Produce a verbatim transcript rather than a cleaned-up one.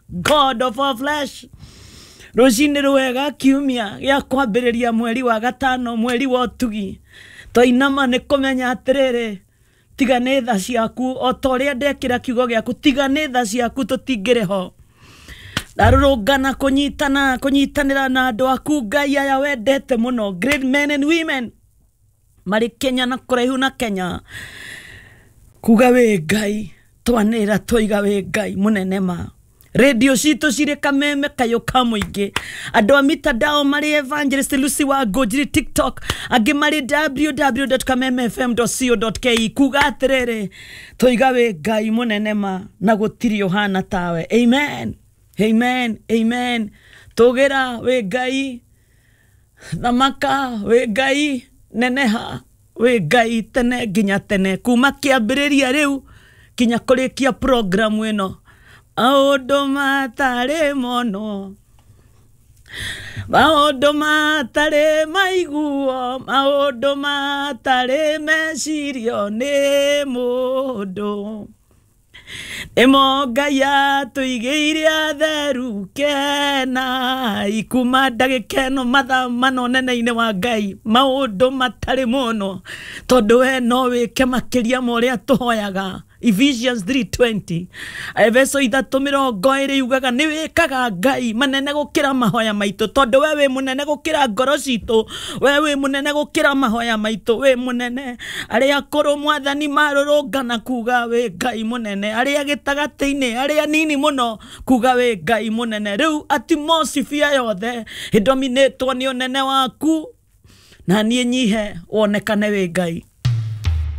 God of all flesh. Rũcinĩ rwega kiumia gĩa kwambĩrĩria mweri wa gatano, mweri wa ũtugi, twainama nĩ kũmenya atĩrĩrĩ, tiga nĩ tha ciaku, o ta ũrĩa ndekĩra kiugo gĩaku, tiga nĩ tha ciaku tũtingĩrĩ ho. Ndarũrũngana kũnyitana kũnyitanĩra na andũ aku Ngai aya wendete mũno, great men and women marĩ Kenya na kũraihu na Kenya, kuga wĩ Ngai, twanĩra twaiga wĩ Ngai mũnene ma. Radio citũ cirĩ kameme kayũ ka mũingĩ, andũ a mitandao marĩ Evangelist Lucy wa Ngũnjiri TikTok, angĩ marĩ w w w dot kameme f m dot co dot k e, kuga atĩrĩrĩ, twaiga wĩ Ngai mũnene ma na gũtirĩ ũhana tawe. Amen, amen, amen. Tũgĩra wĩ Ngai, thamaka wĩ Ngai, neneha wĩ Ngai tene nginya tene, kuma kĩambĩrĩria rĩu kinya kũrĩkia programu ĩno. Maũndũ matarĩ mono, maũndũ matarĩ maiguo, maũndũ matarĩ mecirio nĩ mũndũ, nĩmo Ngai atũigĩire atheru. Kenai kuma ndagĩka ĩno mathaa mana ũnene-inĩ wa Ngai, maũndũ matarĩ mũno, tondũ we no wĩke makĩria ma ũrĩa tũhoyaga. Ephesians three twenty, Efeso ithatũ mĩrongo ĩrĩ yugaga nĩ wĩkaga Ngai manene gũkĩra mahoya maitũ, tondũ we wĩ mũnene gũkĩra ngoro citũ, we wĩ mũnene gũkĩra mahoya maitũ, wĩ mũnene. Arĩa akũrũ Mwathani marũrũngana kuga wĩ Ngai mũnene, arĩa gĩtagatĩ-inĩ, arĩa nini mũno kuga wĩ Ngai mũnene. Rĩu atmosphere yothe ĩdominĩtwo nĩ ũnene waku, na niĩ nyihe wonekane wĩ Ngai.